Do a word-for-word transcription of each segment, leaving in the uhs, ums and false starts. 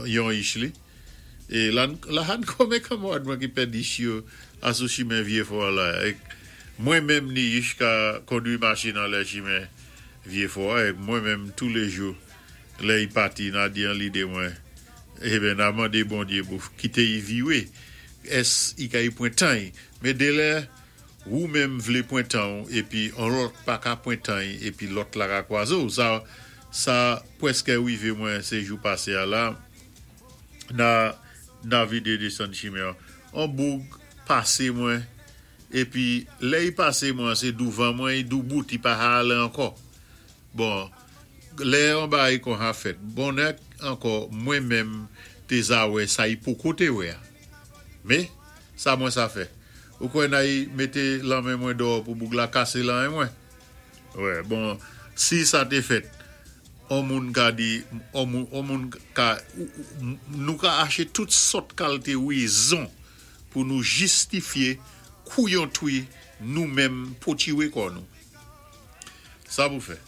Yon ich li. É la, la han konmen kanmwad mwen ki pèd ich yo asou chimen Vyéfò la. Èk mwen menm ni ich ka kondwi machin anlè chimen Vyéfò èk mwen menm touléjou lè i pati na di an lidé mwen eben na mandé Bondyé pou kité i viwé ès i ka i pwan tan i. Mé délè ou menm vlé pwan tan ou épi on lòt pa ka pwan tan i épi lòt la ka kwazé ou. Sa sa pwèskè wivé mwen sé jou pasé a la na na vidé désann chimen. On boug pasé mwen épi lè i pasé mwen sé douvan mwen i doubout i pa alé ankò. Bon, lè on bagay kon ha fèt. Bonnè ankò mwen menm té za wè sa i poko té wè. Mé sa mwen sa fè. Ou kwè na i mété lanmen mwen dò pou boug la kasé lanmen mwen. Wè, bon, si sa té fèt, on moun ka di, on moun, on moun ka, nou ka aché tout sòt kalité wézon pou nou jistifié kouyon twi nou menm potiwé kò nou. Sa pou fè.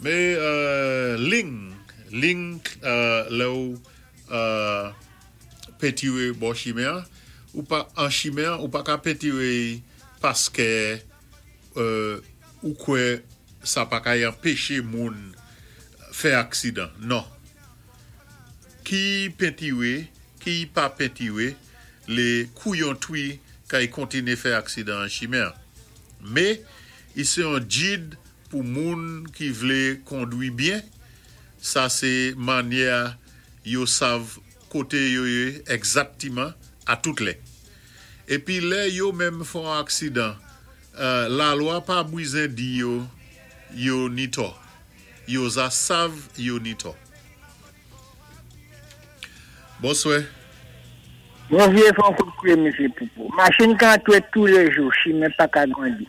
Mé euh, ling, ling euh, lè ou euh, pentiwé bò chimen, ou pa an chimen, ou pa ka pentiwé paskè euh, ou kwè sa pa ka anpéché moun fè aksidan. Non. Ki pentiwé, ki pa pentiwé, lé kouyon twi kay kontiné fè aksidan an chimen. Mé, i sé yon djid pou moun ki vlé kondwi byen, sa sé mannyè yo sav koté yo yé egzaktiman a tout lè. Épi lè yo menm fon aksidan, euh, lalwa pa bizwen di yo yo ni tò. Yo za sav yo ni tò. Bonswè. Mwen vye fè yon kout kouye, msye Poupou. Machin ka antwé touléjou, chimen pa ka grandi.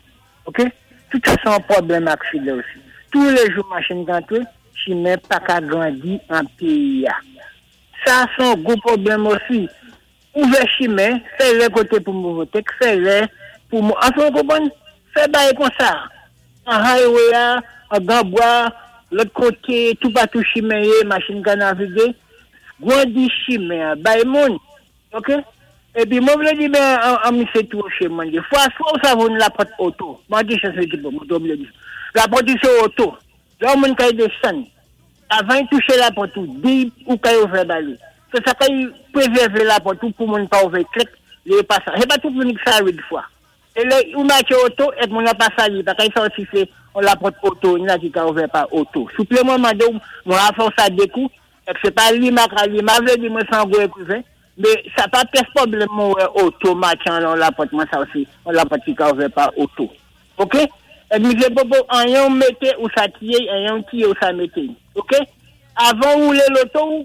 Ok? Tout sa sé yon pwoblèm aksidan osi. Touléjou machin ka antwé, chimen pa ka grandi an péyi a. Sa sé yon gwo pwoblèm osi. Ouvè chimen, fè lè koté pou mouve tek, fè lè pou mou... Anfen, ou konpwann? Fè bagay kon sa. An highway a, an Granbois, lòt koté, tout patou chimen yé, machin ka navigé. Grandi chimen, bay moun. Ok? Épi mwen vlé di ben an, an misé touché mwen di. Fwa fwa ou sa voun lapòt oto. Mwen di chans ti peu, mwen oubliyé di. Lapòt sé oto. Lè moun kay désann. Avan i touché lapòt ou, di ou kay ouvè ba li. Sé sa kay prézèvé lapòt ou pou moun pa ouvè klèk, lè pa sa. Sé pa tout moun ki sa wid fwa. É lè ou matché oto, èk moun nan pa sa li, pa kay sa osi sé on lapòt oto, ni la ki ka ouvè pa oto. Souplé mwen mandé ou, mwen a fè sa de kou, èk sé pa li ma ka li, ma vlé di mwen san gwo ékriven, mé sa pa pyès pwoblèm mwen wè oto matché an lapòt mwen sa osi, on lapòt ki ka ouvè pa oto. Ok? Èk misye Popo, anyen ou mété ou sa tiyé, anyen ou tiyé ou sa mété. Ok? Avan woulé loto ou,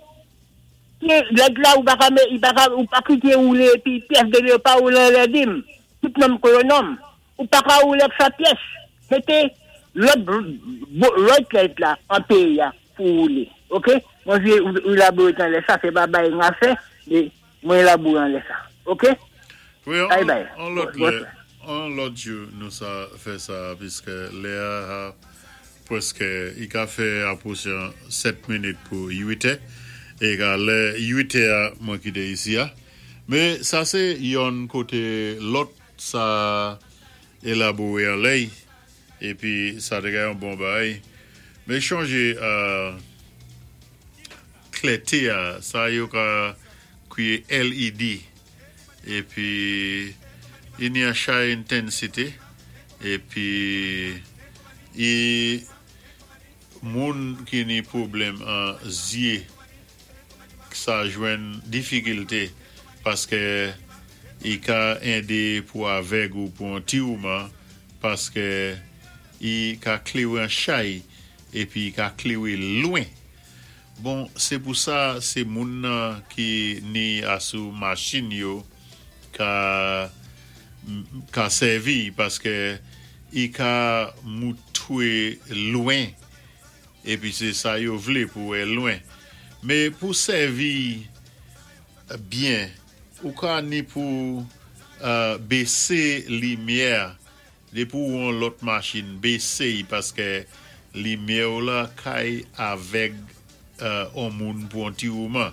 lèd la ou pa ka mé, i pa ka, ou pa kité woulé épi pyès de pa woulé lè dim. Tout nonm kon yon nonm. Ou pa ka woulé ak sa pyès. Mété lòt lòt lèd la an péyi a pou woulé. Ok? Mwen vye ou élaboré tan lè sa, sé pa bagay nga fè, mé mwen élaboré an lè sa. Ok? Wi, Bye an, bye. an lòt Bon, lè, an lòt jou nou sa fè sa, piskè lè a pwèskè i ka fè apwochan sèt minit pou uit, é ka lè uit a mwen kité isi a. Mé sa sé yon koté lòt sa élaboré an lèy, épi sa té ka yon bon bagay. Mé chanjé euh, klèté a, sa yo ka kwiyé L E D, épi i ni an chay intensité, épi i moun ki ni pwoblèm an zyé sa jwenn difikilté paskè i ka édé pou avèg ou pou an ti mouman paskè i ka kléwé an chay épi i ka kléwé lwen. Bon, sé pou sa sé moun nan ki ni asou machin yo ka ka sèvi paskè i ka moutwé lwen épi sé sa yo vlé pou wè lwen. Mé pou sèvi byen, ou ka ni pou euh, bésé limyè dé pou on lòt machin bésé paskè limyè ou la kay avèg. euh, on moun pou on ti mouman.